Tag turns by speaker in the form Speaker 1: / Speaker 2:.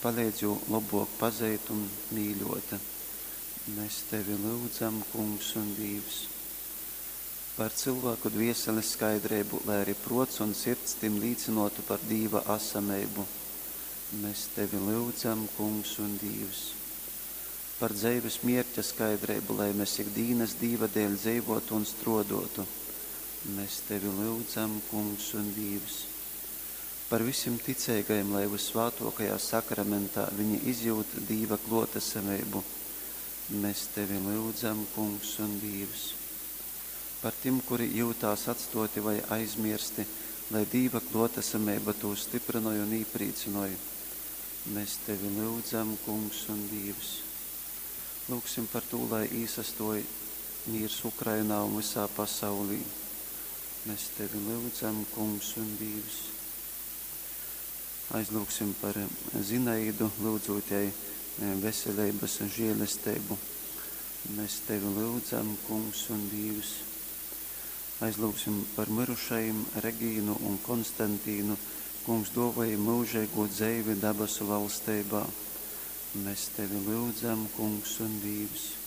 Speaker 1: Paleidz jū lobuok pazeit un mīļuot. Mes Tevi lyudzam, Kungs un Dīvs. Par cylvāku dvieselis skaidreibu, lai ari pruots un sirds tim līcynuotu par Dīva asameibu. Mes Tevi lyudzam, Kungs un Dīvs. Par dzeivis mierķa skaidreibu, lai mes ik dīnys Dīva dēļ dzeivuotu un struoduotu. Mes Tevi lyudzam, Kungs un Dīvs. Par vysim ticeigajim, lai Vyssvātuokajā Sakramentā viņi izjūt Dīva kluotasameibu. Mes Tevi lyudzam, Kungs un Dīvs. Par tim, kuri jyutās atstuoti vai aizmiersti, lai Dīva kluotasameiba tūs styprynoj un īprīcynoj. Mes Tevi lyudzam, Kungs un Dīvs. Lyugsim par tū, lai īsastuoj mīrs Ukrainā un vysā pasaulī. Mes Tevi lyudzam, Kungs un Dīvs. Aizlyugsim par Zinaidu, lyudzūt jai veseleibys žielesteibu. Mes Tevi lyudzam, Kungs un Dīvs. Aizlyugsim par myrušajim Regīnu un Konstantīnu. Kungs, duovoj jim myužeigū dzeivi dabasu valsteibā. Mes Tevi lyudzam, Kungs un Dīvs.